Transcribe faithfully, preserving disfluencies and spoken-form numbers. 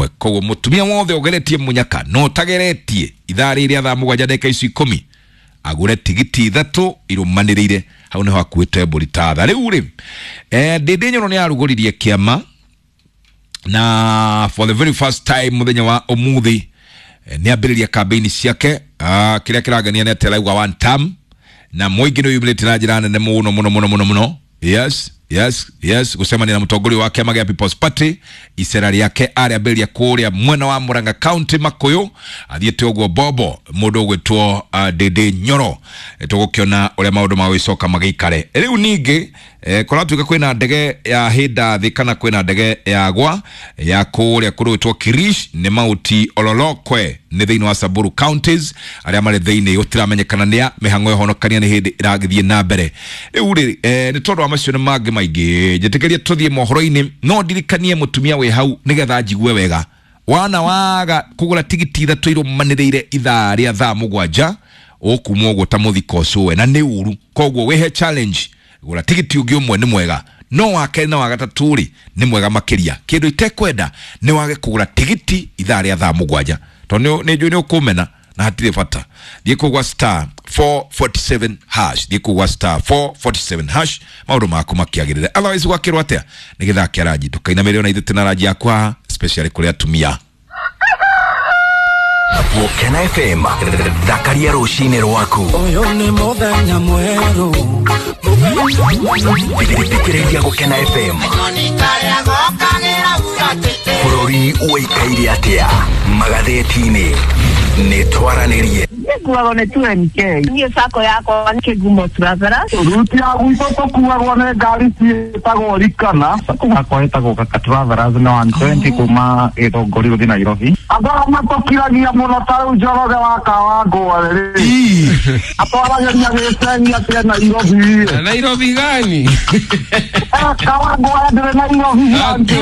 ĩmwe. Koguo mũtumia wothe ũgeretie mũnyaka no ũtageretie ithaa rĩrĩa thaa mũgwanja ndagĩka ici ikũmi agũre tigiti ithatũ irũmanĩrĩire hau nĩho akuĩte mbũri ta tha. Rĩu rĩ, eh, Ndĩndĩ Nyoro nĩ arugũririe kĩama na for the very first time mũthenya wa ũmũthĩ, eh, nĩ ambĩrĩria campaign ciake. Ah, kĩrĩa kĩrangenia nĩ atĩ arauga one term na mũingĩ nĩ ũyumĩrĩte na njĩra nene mũno mũno mũno mũno mũno. Yes, yes, yes, gũcemania na mũtongoria wa kĩama gĩa People's Party. Icera rĩake arĩambĩrĩria kũrĩa mwena wa Murang'a County Makuyu, athiĩte ũguo bobo mũndũ ũgwĩtwo uh, Ndĩndĩ Nyoro. Eh, tũgũkĩona ũrĩa maũndũ magũgĩcoka magĩikare. Rĩu ningĩ, eh, kũratuĩka kwĩna ndege ya hĩnda thĩ kana kwĩna ndege ya gwa ya kũrĩa kũrũĩtwo Kirish nĩ Mauti Ololokwe nĩ thĩinĩ wa Samburu counties arĩa marĩ thĩinĩ gũtiramenyekana nĩa mĩhang'o ya ũhonokania nĩ hĩndĩ ĩragĩthiĩ na mbere. Rĩu rĩ, eh, nĩ tondũ wa macio nĩ mangĩ maingĩ, njĩtĩkĩrie tũthiĩ mohoro-inĩ, no ndirikanie mũtumia wĩ hau nĩgetha njigue wega. Wana waga kũgũra tigiti ithatũ irũmanĩrĩire ithaa rĩa thaa mũgwanja, ũkuma ũguo ta mũthiko ũcũwe na nĩ ũru. Koguo wĩhe challenge, gũra tigiti ũngĩ ũmwe nĩ mwega, no wa kerĩ na wa gatatũ rĩ nĩ mwega makĩria. Kĩndũ itekwenda nĩ wage kũgũra tigiti ithaa rĩa thaa mũgwanja, tondũ nĩ njũĩ nĩ ũkũmena na hatirĩ bata. Thiĩ kũgwa star four forty-seven hash, thiĩ kũgwa star four forty-seven hash, maũndũ maku makĩagĩrĩre. Otherwise gwakĩrwo atĩa nĩ gĩthaa kĩa ranji, ndũkainamĩrĩre ona ithuĩ twĩna ranji yaku haha, especially kũrĩ atumia. Gũkena F M, thakaria rũcinĩ rwaku. Ũyũ nĩ mũthenya mwerũ. Thikĩrĩria Gũkena F M. Bũrũri ũikaire atĩa magathĩti-inĩ? Nĩ twaranĩrie. Nĩnguagwo nĩ two M K. Niĩ sacco yakwa nĩ Kĩgumo Travelers. Ruti ya gwitũ tũkuagwo nĩ ngari ciĩtagwo Rikana. Sacco yakwa ĩtagwo Kaka Travelers na one twenty kuma Gĩthũngũri gũthiĩ Nairobi. Andũ arĩa matũkiragia mũno ta rĩu Njoroge wa Kawangware rĩ, atwaragĩria gĩcegi atĩ Nairobi. Nairobi gani? Kawangware ndĩrĩ Nairobi.